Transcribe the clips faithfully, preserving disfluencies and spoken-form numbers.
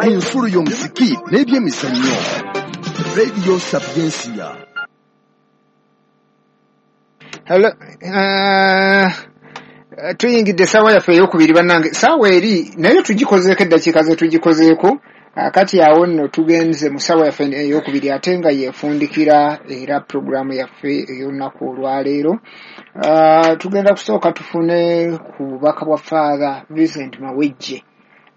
Ku nsulo y'omuziki n'ebyemizannyo, Radio Sapiensia. Hello, uh, tuyingidde essaawa yaffe eyokubiri. Bannange, saawa eri naye tugikozeeko, eddakiika ze tugikozeeko. Kati awo nno tugenze mu ssaawa yaffe eyokubiri, ate nga yefundikira era puroguramu yaffe ey'olunaku olwaleero. uh, tugenda kusooka tufune ku bubaka bwa Father Vincent Mawejje.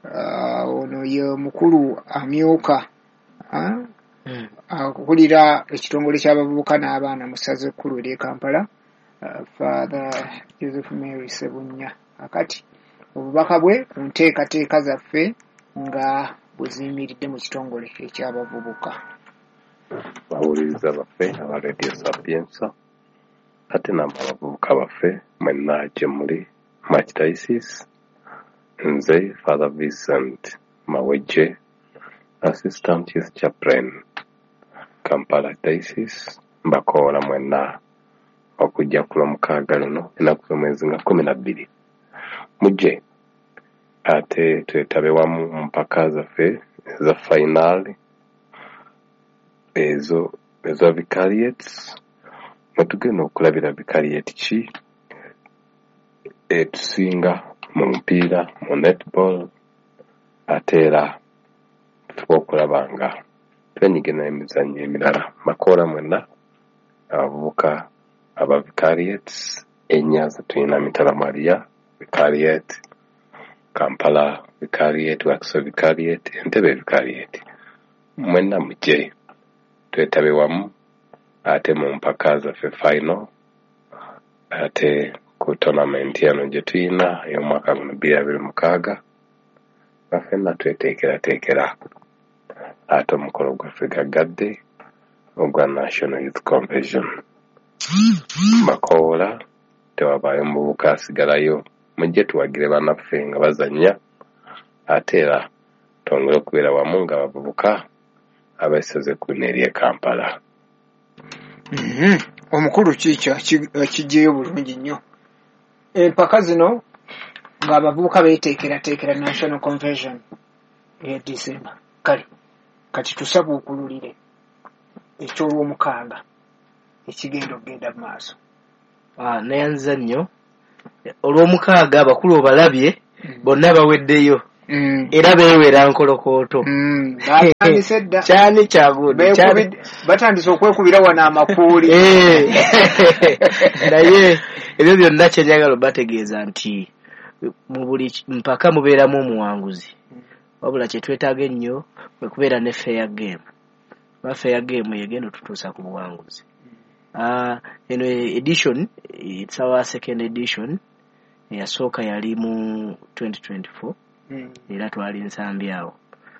uh, ono ye mukulu amyuka uh, mm. akulira ekitongole ky'abavubuka n'abaana mu ssaza ekkulu ery'e Kampala, uh, Father Joseph Mary Ssebunya. Akati obubaka bwe ku nteekateeka zaffe nga bwe ziyimiridde mu kitongole eky'abavubuka. Bawuliriza baffe aba Radio Sapienza, ate namwe abavubuka baffe mwenna gye muli mu Archdiocese, nze Father Vincent Mawejje, Assistant Youth Chaplain, Kampala Diocese, mbakoola mwenna okujja ku Lwomukaaga luno, ennaku z'omwezi nga kkumi na bbiri, mujje ate twetabe wamu mu mpaka zaffe eza final ezo eza vicariates, mwe tugenda okulabira vicariate ki etusinga mu mupiira, mu netball, ate era tufuba okulaba nga twenyigira emizannyo emirala. Mbakoola mwenna abavubuka aba vicariates ennya ze tulina: Mitala Maria Vicariate, Kampala Vicariate, Wakiso Vicariate, Entebbe Vicariate, mwenna mujje twetabe wamu ate mu mpaka zaffe final, ate ku tournament eno gye tulina ey'omwaka guno bbiri abiri mukaaga, nga ffenna tweteekerateekera ate omukolo gwaffe gaggadde ogwa National Youth Convention. Mbakoola, tewabaayo muvubuka asigalayo, mujje tuwagire bannaffe nga bazannya, ate era twongere okubeera wamu nga abavubuka ab'essaza ekkulu ery'e Kampala. Mm-hmm. Omukulu kiikyo kiggyeyo bulungi nnyo. Empaka zino ng'abavubuka beeteekerateekera National Convention eya December. Kale kati tusabuukululire eky'olwomukaaga ekigenda okugenda mu maaso. Ah, neyanza nnyo. Olwomukaaga abakulu obalabye, mm. bonna baweddeyo. Mm. Era beewera nkolokooto. Mm. Batandise dda. Kyani kyagundi, kyani. Batandise okwekubira wano amakuuli. Eh. Naye ebyo byonna kye njagala obategeeza nti mu buli mpaka mubeeramu omuwanguzi, wabula kye twetaaga ennyo kwe kubeera ne fair game. Kuba fair game yegenda otutuusa ku buwanguzi. Uh, eno edition, it's our second edition. Eyasooka yali mu twenty twenty-four. Mm. Era twali Nsambi awo.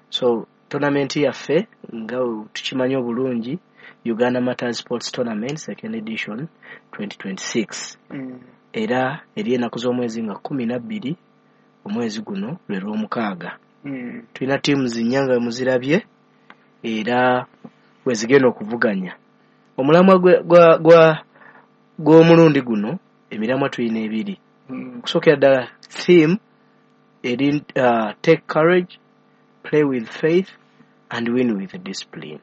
So tournament yaffe nga tukimanyi obulungi, Uganda Matters Sports Tournament second edition twenty twenty-six. Mm. Era eri ennaku z'omwezi nga kkumi na bbiri omwezi guno lwe Lwomukaaga. Mm. Tulina teams nnya nga muzirabye era we zigenda okuvuganya. Omulamwa gwa gwa gw'omulundi guno, emiramwa tulina ebiri. Mm. Okusookera ddala theme eri uh, take courage, play with faith and win with discipline.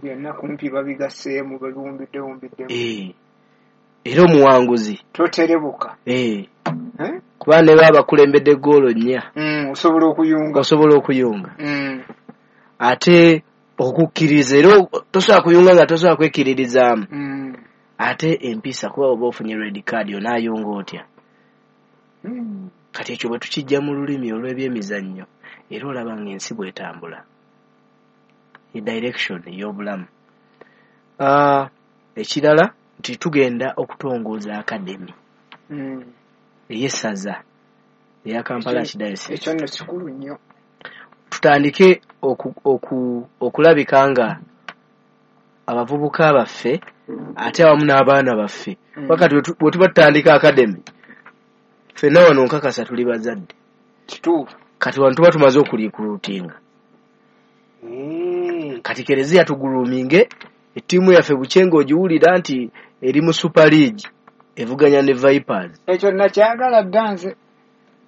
Byonna kumpi babigasseemu, babiwumbidde wumbiddemu. Eh. Era omuwanguzi toterebuka. Eh. Eh? Kuba ne baba bakulembedde ggoolo nnya. Mm, osobola okuyunga. Osobola okuyunga. Mm. Ate okukkiriza, era tosobola kuyunga nga tosobola kwekkiririzaamu. Mm. Ate empisa, kuba oba ofunye red card onaayunga otya? Mm. Kati ekyo bwe tukijja mu lulimi olw'ebyemizannyo, era olaba ng'ensi bw'etambula, e direction ey'obulamu. Uh, ekirala nti tugenda okutongoza academy mm. ey'essaza eya Kampala Archdiocese. Ekyo nno kikulu nnyo. Tutandike oku, oku, okulabika nga abavubuka baffe ate awamu n'abaana baffe. Mm. Wakati bwe tuba tutandika academy, ffenna wano nkakasa tuli bazadde. Kituufu. Kati wano tuba tumaze okurecruitinga. Mm. Kati kereziya tugroominge ettiimu yaffe bukyenga ogiwulira nti eri mu Super League evuganya ne Vipers. Ekyo nakyagala dda nze.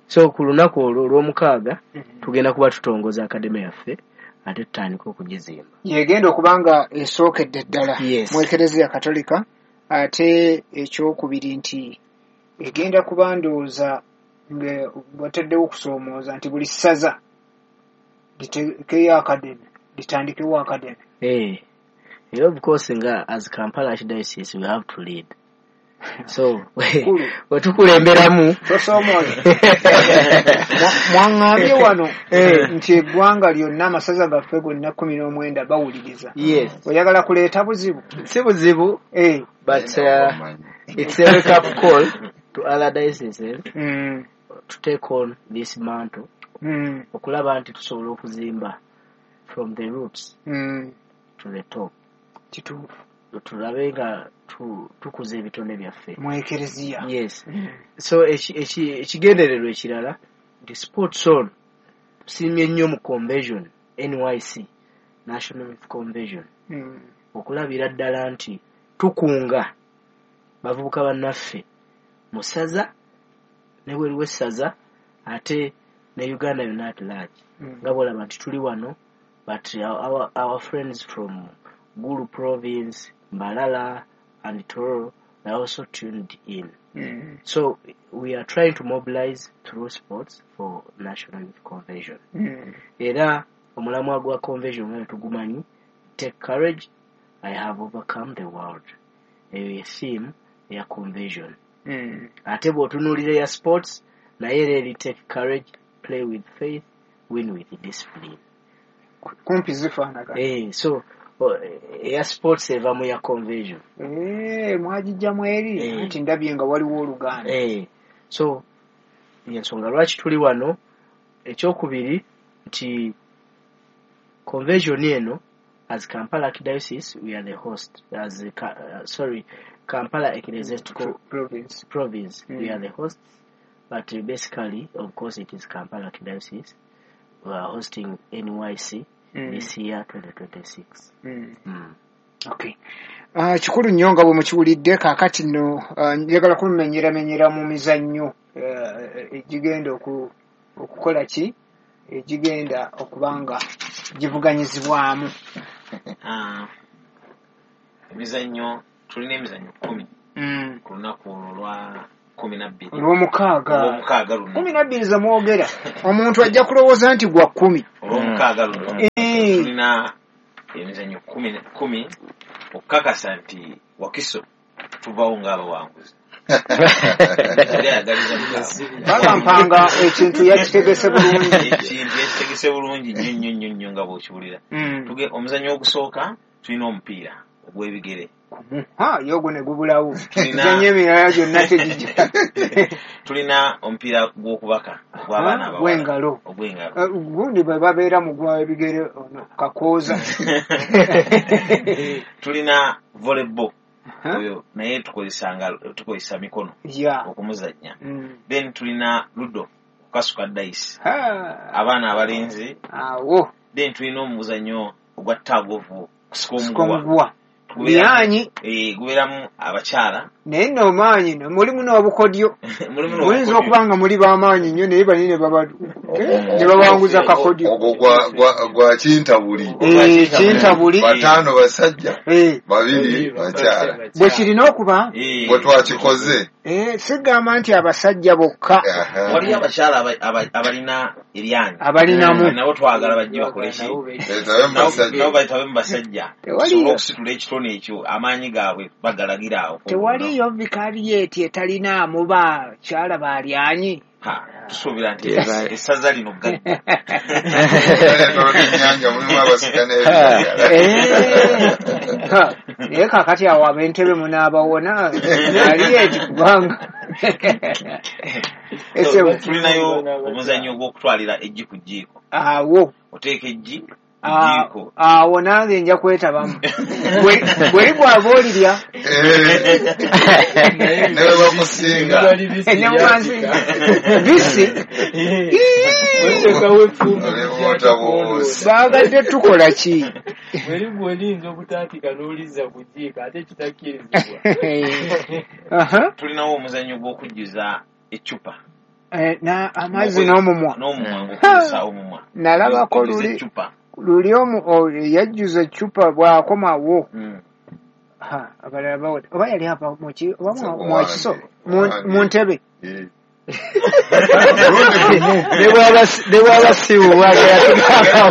So ku lunaku olwo olw'omukaaga tugenda kuba tutongoza academy yaffe ate tutandika okugizimba. Yegenda okubanga esookedde ddala Yes. mu Ekereziya Katolika, ate ekyokubiri nti egenda kuba ndowooza nga bataddewo okusoomooza nti buli ssaza liteekeyo academy, litandikewo academy. Eh, era of course nga as Kampala Archdiocese we have to lead. So Kulu. we tukulemberamu Tosoomooza. Mwaŋŋambye wano nti eggwanga lyonna amasaza gaffe gonna kkumi n'omwenda bawuliriza. Yes. Oyagala kuleeta buzibu? Si buzibu, Eh. but uh, it's a wake up call to other dioceses Mm. to take on this mantle Mm. okulaba nti tusobola okuzimba from the roots Mm. to the top. Kituufu. Tulabe nga tu- tukuza ebitone byaffe mu Ekereziya. Yes. So eki- eki- ekigendererwa ekirala nti sports on tusiimye nnyo mu convention N Y C, National Youth Convention, Mm. okulabira ddala nti tukunga bavubuka bannaffe mu ssaza ne bweru w'essaza ate ne Uganda yonna at large. Mm. Nga bw'olaba nti tuli wano, but our, our friends from Gulu province, Mbarara and Toro, they are also tuned in. Mm. So we are trying to mobilize through sports for National Youth Convention. Mm. Era omulamwa gwa convention nga tugumanyi, take courage, I have overcome the world. Eyo ye theme ya convention. Mm. Ate bw'otunuulira eya sports, naye era eri take courage, play with faith, win with discipline. Kumpi zifaanagana. Eh, so eya sports eva mu ya convention. Eh, mwagijjamu eri Eh. nti ndabye nga waliwo oluganda. Eh, so ensonga lwaki tuli wano, ekyokubiri nti convention eno as Kampala Archdiocese we are the host, as a, uh, sorry, Kampala Ecclesiastical Province. Province, Mm. we are the hosts, but basically of course it is Kampala Archdiocese. We are hosting N Y C Mm. this year twenty twenty-six. Mm. Mm. Okay. Uh, kikulu nnyo nga bwe mukiwulidde kaakati nno uh, njagala kumenyeramenyera mu mizannyo uh, egigenda oku, okukola ki egigenda okuba nga givuganyizibwamu. Ah, emizannyo tulina emizannyo kkumi Mm. ku lunaku olwo lwa kkumi na bbiri. Olw'omukaaga. Olw'omukaaga luno. Kkumi na bbiri ze mwogera omuntu ajja kulowooza nti gwa kkumi. Olw'omukaaga luno. Eh. Tulina emizannyo kkumi, kkumi okukakasa nti Wakiso tuvaawo ng'abawanguzi. Baba Mpanga ekintu yakitegese bulungi. Ekintu yakitegese bulungi nnyo nnyo nnyo nnyo nga bw'okiwulira. Mm. Tuge omuzannyo ogusooka tulina omupiira ogw'ebigere. Ha, yogo ne gubulawo. Tulina Emizannyo emirala gyonna tegijja. Tulina omupiira gw'okubaka ogw'abaana abawala. Ogw'engalo. Ogw'engalo. Eh, gundi bwe babeera mu gw'ebigere ono kakooza. Tulina volleyball. Huh? Oyo naye tukozesa ngalo, tukozesa mikono Yeah. okumuzannya. Mm. Then tulina ludo okukasuka dice. Ha. Abaana abalenzi. Awo. Then tulina omuzannyo ogwa tug of war, kusika Kusika omuguwa. omuguwa. Gubeeramu, Lyanyi. eh, gubeeramu abakyala. Naye nno maanyi nno mulimu n'obukodyo. Mulimu Muyinza n'obukodyo. okuba nga muli b'amaanyi nnyo naye bali ne baba- ne babanguza kakodyo. Ogwo gwa, gwa, gwa kintabuli. Eh, kintabuli. Bataano basajja, Eh. babiri bakyala. Bwe kirina okuba. Eh. Bwe twakikoze. Eh, sigamba nti abasajja bokka. Aha. Waliyo abakyala aba-, aba-, abalina eryanyi. Abalinamu. Mm. Nabo twagala bajje bakole ki? Beetabe mu basajja. Nabo beetabe mu basajja. Tewaliyo. Tusobole okusitula ekitone ekyo, amaanyi gaabwe bagalagira awo. Tewaliyo vikariyeeti etalinaamu bakyala balyanyi. Ha, tusuubira nti Teba- essaza lino gajja. Ennyanja mulimu abasika n'ebiragala. Eh. Ha, naye kaakati awo ab'entebe munaabawona aliyeeti kubanga. Ese Tulinayo omuzannyo gw'okutwalira eggi ku jjiiko. Awo. Oteeka eggi ku Ah, jjiiko. awo nange nja kwetabamu. Bwe, bwe ligwaba olirya. Eh. Ne bwe bakusinga. Ne bwe bansinga. Bisi. Olibuuta bubuusi. Baagadde tukola ki? Bweri bw'olinza obutaatika n'olizza ku jjiiko ate kitakkirizibwa. Aha. Tulinawo omuzannyo gw'okujjuza eccupa. Eh, na amazzi n'omumwa n'omumwa ng'okozesa omumwa Nalabako Ojjuza luli eccupa luli omu o- yajjuza eccupa bw'akomawo Mm. Ha, abalala bawona oba yali ava muki oba Nze mu- ku mwakiso wange, mu wange. mu ntebe Eh. Ne bw'aba si- ne bw'aba si wuwage yatugamba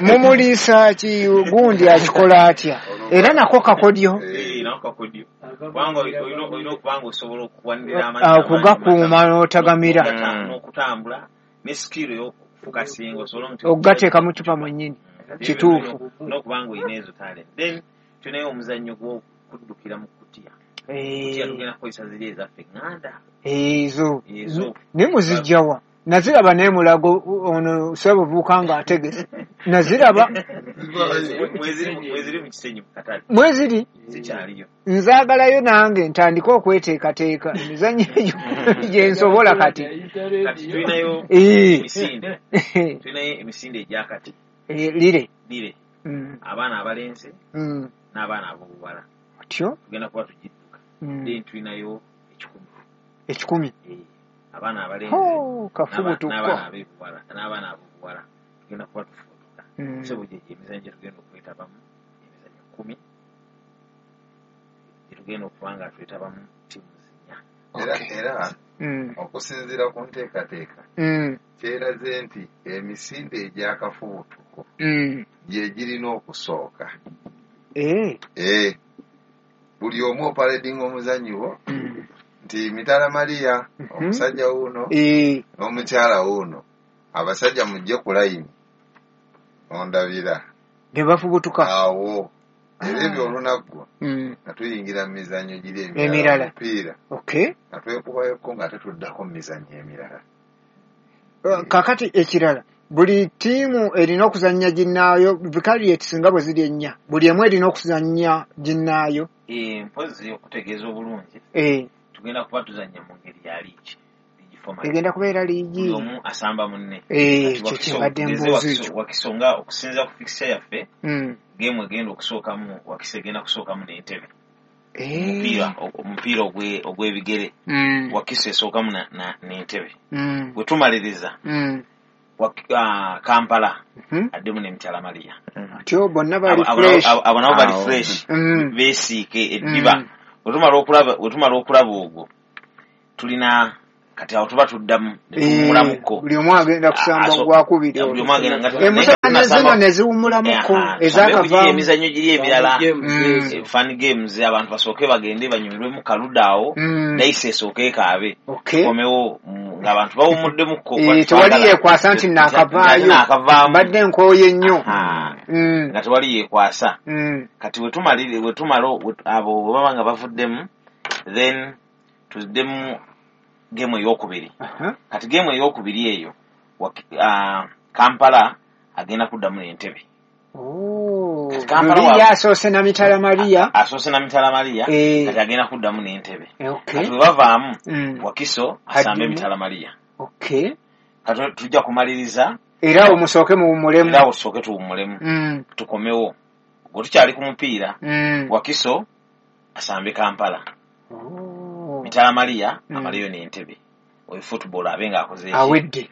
mumuliisa ki gundi akikola atya era nako kakodyo Eh. Eh, nako kakodyo kubanga olina olina okuba nga osobola okuwanirira amazzi Ah, amangi okugakuuma mu mata, n'otagamira n'okugata- Mm. n'okutambula ne skill ey'okufukasinga osobola nti okugateeka mu cupa mwennyini kituufu n'okuba nga olina ezo talent then tulinayo omuzannyo gw'okuddukira mu kutiya kutiya Eh, tugenda kukozesa ziri ezaffe eŋŋanda ezo ezo naye muzijjawa naziraba naye mulago ono ssebuvuuka ng'ategese naziraba Zivaayo. mweziri mweziri mu kisenyi mu katale mweziri zikyaliyo nzaagalayo nange ntandike okweteekateeka emizannyo egyo gye nsobola kati kati tulinayo Eh. emisinde tulinayo emisinde egyakati Eh, lire lire Mm, abaana abalenzi mm. n'abaana ab'obuwala otyo tugenda kuba tugidduka Mm. then tulinayo ekikumi ekikumi Eh, abaana abalenzi Ho, n'aba- kafubutuko n'abaana ab'ebuwala n'abaana ab'obuwala tugenda kuba tufubutuka Mm. sebo gyegyo emizannyo gye tugenda okwetabamu emizannyo kkumi gye tugenda okuba nga twetabamu ttiimu nnya Era Okay. era Mm, okusinziira ku nteekateeka mm, kyeraze nti emisinde egy'akafubutuko mm. gye girina okusooka. Eh, Eh, buli omu opaledinga omuzannyi wo mm. nti Mitala Maria Mhm. omusajja wuuno Eh, n'omukyala wuuno abasajja mujje ku layini ondabira ne bafubutuka awo era ebyo olunaggwa Mm, nga tuyingira mu mizannyo giri Emirala. emirala omupiira okay nga twekubayoko nga tetuddako mu mizannyo emirala Uh, kakati ekirala buli ttiimu erina okuzannya ginnaayo vicariates nga bwe ziri ennya buli emu erina okuzannya ginnaayo Eh, mpozzi okutegeeza obulungi Eh, tugenda kuba tuzannya mu ngeri ya liigi liigi format egenda kubeera liigi buli omu asamba munne Eh, Kati ekyo Wakiso- kyembadde tugeze mbuuza Wakiso- ekyo Wakiso nga okusinziira ku fixture yaffe Mm. geemu egenda okusookamu Wakiso egenda kusookamu n'Entebbe Eh, omupiira omupiira ogwe- ogw'ebigere mm, Wakiso esookamu na- na- n'Entebbe mm, bwe tumaliriza mm, Wak- ah, Kampala mhm. addemu ne Mitala Maria Atyo bonna bali Abo- abo fresh nabo- abo nabo bali Awo. fresh Mm, beesiike eddiba mm. bwe tumala okulaba bwe tumala okulaba ogwo tulina kati awo tuba tuddamu ne Eh, tuwummulamuko buli omu agenda kusamba Aso- gwakubiri buli omu agenda nga naye nga emusana zino tunasamba ne ziwummulamuko Aha, tusambe giri ezaakavaamu emizannyo giri emirala Mm. Eh, fun games abantu basooke bagende banyumirwemu kaluda awo Mm. dayisi esooke ekaabe okay tukomewo mm, ng'abantu bawummuddemukko Eh, tewali yeekwasa nti naakavaayo naakavaamu mbadde nkooye nnyo Aha, Mm, nga tewali yeekwasa mm. kati wetumalire wetumala we- abo bwe baba nga bavuddemu then tuddemu geemu eyokubiri Aha. kati geemu eyokubiri eyo Wak- ah, Kampala agenda kuddamu n'Entebbe Oh, Kati Kampala luli wa- ye asoose na Mitala Maria asoose na Mitala Maria Eh. kati agenda kuddamu n'Entebbe Eh, okay kati bwe bavaamu Mm. Wakiso asambe Addemu. Mitala Maria okay kati tujja kumaliriza era awo musooke muwummulemu era awo tusooke tuwummulemu Mm, tukomewo gwe tukyali ku mupiira mm. Wakiso asambe Kampala Oh, Mitala Maria Mm. amaleyo n'Entebbe oyo football abe ng'akoze eki awedde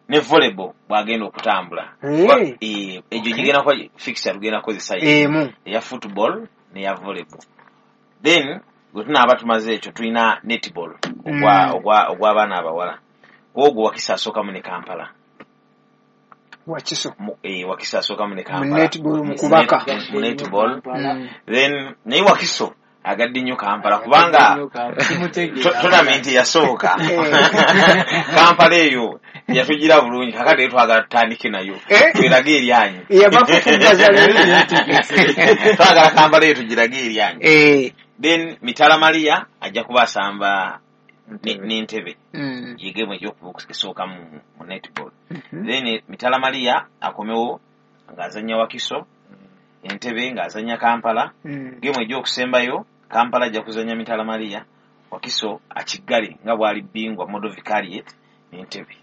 ne volleyball bw'agenda okutambula Eh. Kuba, eh, egyo gigenda kuba fixture tugenda kukozesa emu eya football n'eya volleyball then bwe tunaaba tumaze ekyo tulina netball ogwa Mm. ogwa ogw'abaana abawala ogwo Wakiso asookamu ne Kampala Wakiso Mu- eh, Wakiso asookamu ne mu Kampala netball mu kubaka Mu netball Mm. then naye Wakiso agadde nnyo Kampala kubanga to- tournament eyasooka Eh. Kampala eyo yatugira bulungi kakati twagala tutandike nayo Eh. twerage eryanyi Yabafufuggaza twagala Kampala eyo tugirage eryanyi Eh, then Mitala Maria ajja kuba asamba ne- n'Entebbe mm, ye geemu esooka mu mu netball mhm. then eh, Mitala Maria akomewo ng'azannya Wakiso Entebbe ng'azannya Kampala Mm. geemu egy'okusembayo Kampala ajja kuzannya Mitala Maria Wakiso akiggale nga bw'ali bbingwa Model Vicariate n'Entebbe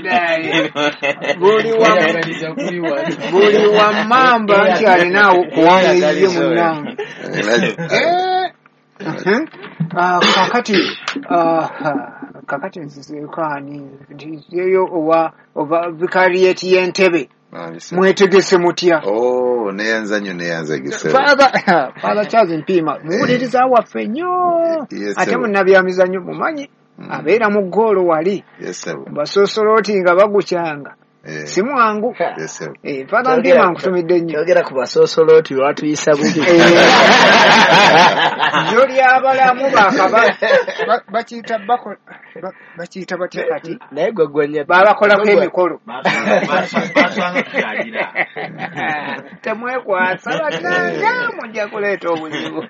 Naye, buli wa Kweyagaliza kuli wano. buli wa mmamba nti alina kuwanga eyiye munnange. Era- Eh, mhm. Ah, kakati ah, kakati nzizeekaani nzizeeyo owa oba vikarieti y'Entebe, mwetegese mutya? Oh, neyanza nnyo, neyanza gisebo. Father Father Charles Mpiima muwuliriza waffe nnyo, Yes, ate sebo. munnabyamizannyo mumanyi, Mm. abeera mu ggoolo wali Yes, sebo. basosolooti nga bagukyanga, Eh, si mwangu. Yes, sebo. Eh, Father Mpiima, nkutumidde nnyo. Yogera ku basoosolooti, lwatuyisa bubi. Jjo ly'abalamu bakaba ba- bakiyita bako- ba- bakiyita batya kati? Naye gwe gwenya Babakolako emikolo. Basanga tukyalira. Temwekwasa bannange, mujja kuleeta obuzibu.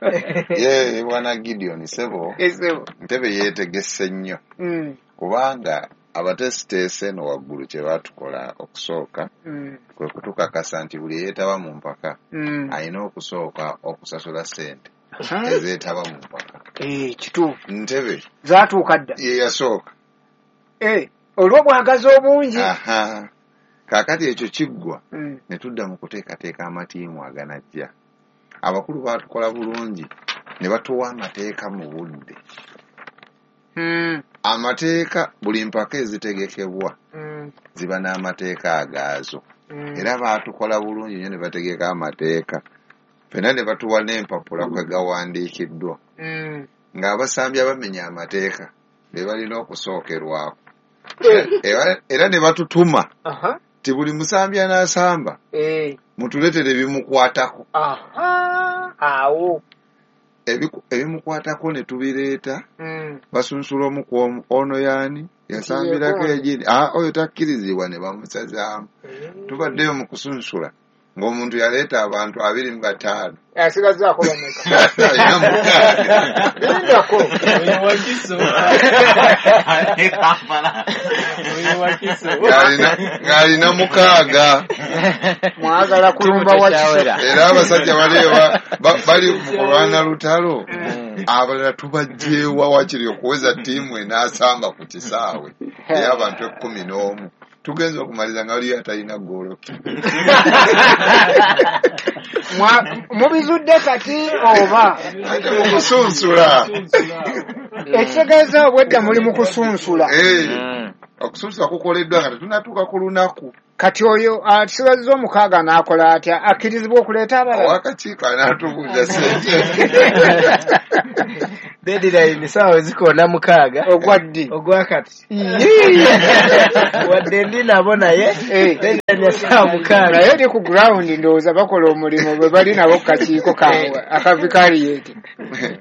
Ye bwana Gideon, sebo. Esebo. Ntebe yeetegese nnyo, Mm, kubanga abateesiteese eno waggulu kye baatukola okusooka mm, kwe kutukakasa nti buli eyeetaba mu mpaka mm. alina okusooka okusasula ssente Aha. ezeetaba mu mpaka. Eh, kituufu. Ntebe Zaatuuka dda. ye yasooka. Eh, olw'obwagazi obungi. Aha, kaakati ekyo kiggwa, Mm, ne tudda mu kuteekateeka amatiimu aganajja. Abakulu baatukola bulungi ne batuwa amateeka mu budde. mm, Amateeka, buli mpaka ezitegekebwa mm, ziba n'amateeka agaazo, mm. era baatukola bulungi nnyo ne bategeka amateeka ffenna ne batuwa n'empapula kwe gawandiikiddwa, Mm. ng'abasambi abamenya amateeka be balina okusookerwako. Eh, era, era ne batutuma aha. ti buli musambi anaasamba Eh, mutuleetere ebimukwatako. Aha, awo. Ebiku- ebimukwatako ne tubireeta. Mm. Basunsula omu ku omu, ono yaani yasambirako Yegondi. egini, ah, oyo takkirizibwa, ne bamusazaamu. Tubaddeyo mu kusunsula ng'omuntu yaleeta abantu abiri mu bataano, Asigazzaako bameka? Alina mukaaga. Lindako. Oyo Wakiso. Ne Kampala. Oyo Wakiso. Ng'alina- ng'alina mukaaga. Mwagala kulumba Wakiso. Era abasajja bali ba- ba- bali mu kulwana lutalo, abalala tubajjeewa wakiri okuweza ttiimu enaasamba ku kisaawe ey'abantu ekkumi n'omu. Tugenza okumaliza nga waliyo atalina ggoolo. Mwa- mubizudde kati oba? Ate mu kusunsula. Ekitegeeza obwedda muli mu kusunsula. Eh, okusunsula kukoleddwa nga tetunatuuka ku lunaku. Kati oyo asigazza omukaaga n'akola atya? Akkirizibwa okuleeta abalala? Owakakiiko anaatubuuza sente. Deadline saawa zikoona mukaaga. Ogwa ddi? Ogwakati. Yii! Wadde ndi nabo, naye Eh. deadline ya saawa mukaaga. Naye eri ku ground ndowooza bakola omulimu bwe bali nabo ku kakiiko kaabwe akavikariyeti.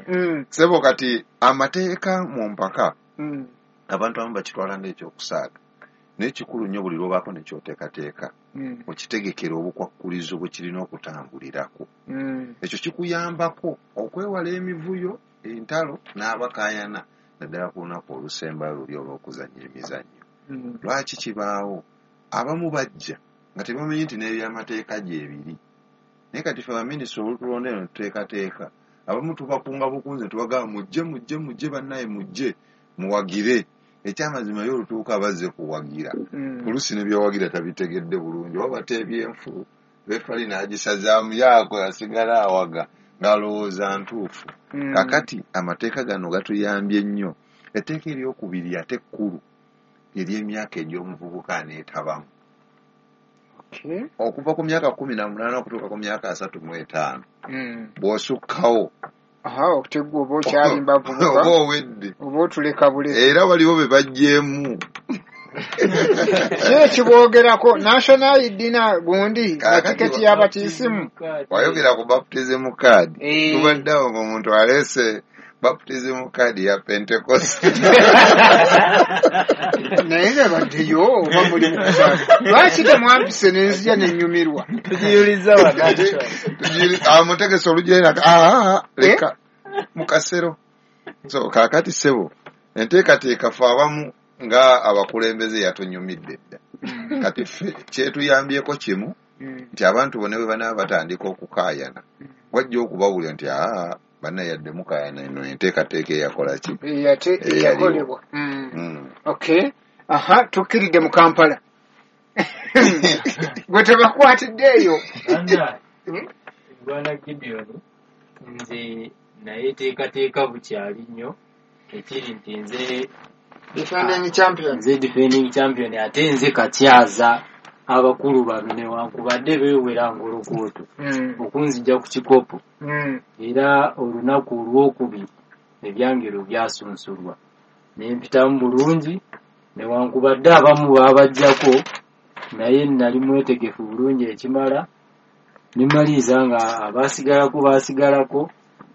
Mm, Sebo, kati amateeka mu mpaka, mm, abantu abamu bakitwala ng'ekyokusaaga, naye kikulu nnyo buli lwobaako nekyoteekateeka mm, okitegekera obukwakkulizo bwe kirina okutambulirako. mm. Ekyo kikuyambako okwewala emivuyo, entalo n'abakaayana, naddala ku lunaku olusembayo luli olw'okuzannya emizannyo. Mm. Lwaki kibaawo? Abamu bajja nga tebamanyi nti n'ebyamateeka gyebiri, naye kati fe baminisita olutulonda eno tuteekateeka, abamu tubakunga bukunzi ne tubagamba, mujje, mujje, mujje bannaye, mujje muwagire. Ekyamazima yo olutuuka bazze kuwagira, Mm. oluusi ne byowagira tabitegedde bulungi, oba bateebye enfu refali n'agisazaamu yaako asigala awaga ng'alowooza ntuufu. Mm. Kakati amateeka gano gatuyambye nnyo. Etteeka eryokubiri ate ekkulu ery'emyaka egy'omuvubuka aneetabamu, Okay. okuva ku myaka kumi na munaana okutuuka ku myaka asatu mu etaano. Mm. Bw'osukkawo, Aha, okutegwa oba okyalimba oba vubuka, owedde. Oba otuleka buleka. Era waliwo be baggyeemu. Ki ekiboogerako national I D na gundi na Kaakati tiketi y'abatiisimu? Wayogera ku baptism card. Eh. Tubadde awo ng'omuntu aleese baptism card ya Pentecost. Naye nga baddeyo oba muli mu kusaaga, lwaki temwampise nenzija nenyumirwa? Tugiyuliza wano actually. Tugiri- amutegese olugenda, aa, leka mukasero. So kaakati ssebo, enteekateeka fe abamu nga abakulembeze yatunyumidde dda. Kati ffe kyetuyambyeko kimu, nti abantu bonna bwe banaaba batandika okukaayana, wajja okubawulira nti aa, banna, yadde mukaayana, eno enteekateeka eyakola ki Ate eyaliwo. eyakolebwa. Mm. Mm. Okay, aha, tukkiridde mu Kampala, gwe tebakwatidde eyo. Anna, Mm. Bwana Gideon, nze Naye teekateeka bukyali nnyo, ekiri nti nze Defending champion. Nze defending champion, ate nze kakyaza abakulu bano newankubadde beewera ngolokooto Mm. okunzija ku kikopo. Mm. Era olunaku olwokubiri ebyangero byasunsulwa ne mpitamu bulungi, newankubadde abamu baabajjako, naye nali mwetegefu bulungi ekimala ne maliriza nga abaasigalako baasigalako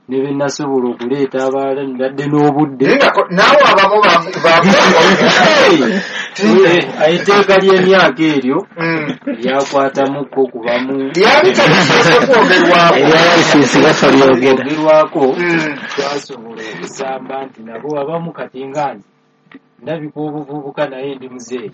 ne be nasobola okuleeta abalala mbadde n'obudde. Naye nga ko- naawe abamu ba- ba- Eh, etteeka ly'emyaka eryo Mm. lyakwatamuko kubamu Lyali talisoose kwogerwako. Eryabalisinsi basolyogera. Ogerwako. Mm. Twasobola okusamba nti nabo abamu kati nga nze ndabika obuvubuka naye ndi muzeeyi.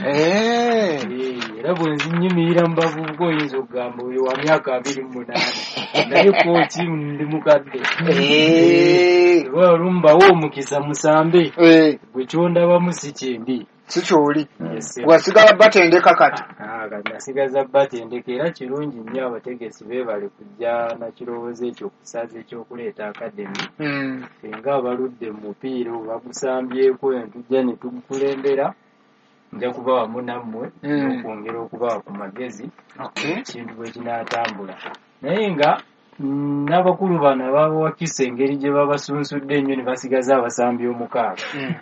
Eh. Eh, era bwe nzinyimirira mu bavubuka oyinza okugamba oyo wa myaka abiri mu munaana, naye kooki ndi mukadde. Eh. Oba olumbawo omukisa musambe. Eh. Gwe kyondabamu si kyembi. Si kyoli. Yes. Wasigala batendeka kati. Ah, kati nasigaza batendeka, era kirungi nnyo abategesi beebale kujja na kirowoozo ekyo okusaza ekyokuleeta academy. Mm. Ffe ng'abaludde mu mupiira bagusambyeko ne tujja ne tugukulembera, nja kuba wamu nammwe Mm. n'okwongera okubawa ku magezi Okay. ekintu bwe kinaatambula. Naye nga mm, n'abakulu bano abawakisa engeri gye babasunsudde ennyo ne basigaza abasambi omukaaga, Mm.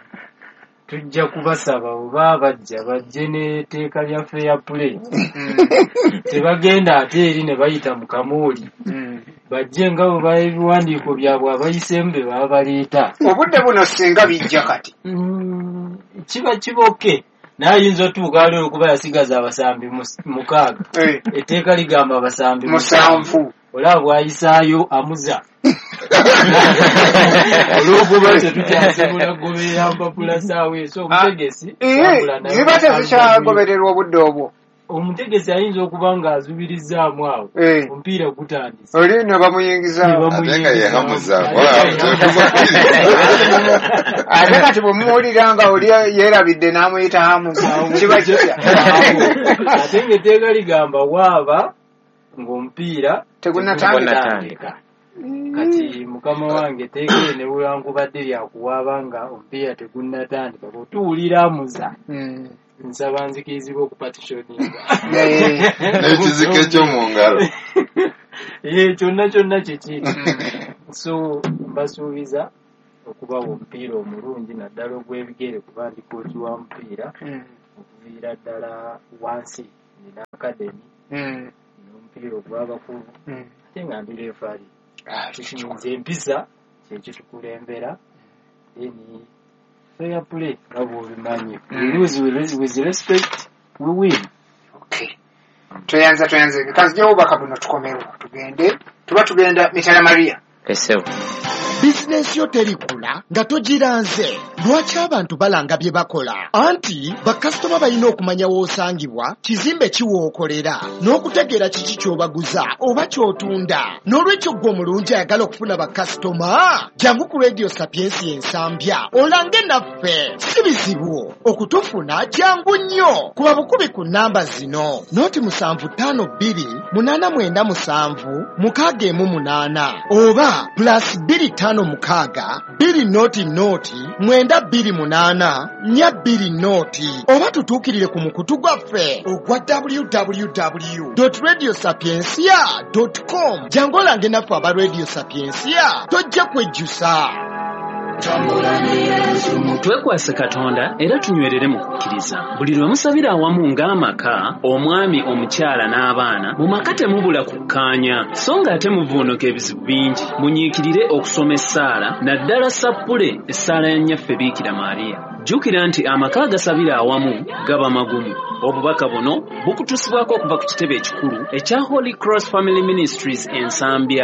tujja kubasaba oba bajja bajje n'etteeka lya fair play. Mm. Tebagenda ate eri ne bayita mu kamooli, Mm. bajje nga bwe baba ebiwandiiko byabwe abayiseemu be baba baleeta. Obudde buno singa bijja kati. Mm, kiba kiboke, naye ayinza otuuka ali olwokuba yasigaza abasambi mus- mukaaga, Eh. etteeka ligamba abasambi musanvu, Musanvu. olaba bw'ayisaayo amuza olw'okuba tetukyasobola kugoberera mpapula saawa eso omutegesi Eh, tambula naye ziba tezikyagobererwa obudde obwo. Omutegesi ayinza okuba ng'azubirizaamu awo, Eh. omupiira gutandise Oli ne bamuyingizaawo. Ate nga ye Hamuza, wala Ate kati bwe muwulira nga oli yeerabidde n'amuyita Hamuza, kiba kitya? Ate ng'etteeka ligamba waaba ng'omupiira Tegunnatandika. tegunnatandika. Kati mukama wange etteeka eryo ne bwewankubadde lyakuwaaba nga omupiira tegunnatandika, bw'otuwulira Amuza, Mm. nsaba nzikirizibwa okupatishoninga. Eh. N'ekiziko eky'omu ngalo. Eh, kyonna kyonna kiki. Mm. So mbasuubiza okubawa omupiira omulungi naddala ogw'ebigere, kuba ndi kooki wa mupiira Mm. okuviira ddala wansi, nina academy Mm. n'omupiira ogw'abakulu, Mm. ate nga ndi referee. Ah, Nze empisa kyekitukulembera, then fair play nga bw'obimanyi, we lose with with respect, we win. Okay. Tweyanza tweyanze. Kanzijewo obubaka buno tukomewo tugende, tuba tugenda Mitala Maria. Esebo. Bizinensi yo terikula nga togiranze. Lwaki abantu balanga bye bakola? Anti bakasitoma balina okumanya w'osangibwa, kizimbe ki w'okolera, n'okutegeera kiki ky'obaguza oba ky'otunda. N'olwekyo ggwe omulungi ayagala okufuna bakasitoma, jangu ku Radio Sapiensi Ensambya olange naffe. Si bizibu okutufuna, jangu nnyo kuba bukubi ku nnamba zino: noti musanvu ttaano bbiri munaana mwenda musanvu mukaaga emu munaana, oba plus bbiri ttaano mukaaga bbiri noti noti mwenda bbiri munaana nnya bbiri noti, oba tutuukirire ku mukutu gwaffe ogwa w w w radio sapiencia com. Jangu olange naffe aba Radio Sapiencia, tojja kwejjusa. Twekwase Katonda era tunywerere mu kukkiriza. Buli lwe musabira awamu ng'amaka, omwami, omukyala n'abaana, mu maka temubula kukkaanya, so ng'ate muvuunuka ebizibu bingi. Munyiikirire okusoma essaala, naddala sappule essaala ya Nnyaffe Biikira Maariya. Jjukira nti amaka agasabira awamu gaba magumu. Obubaka buno bukutuusibwako okuva ku kitebe ekikulu ekya Holy Cross Family Ministries Ensambya.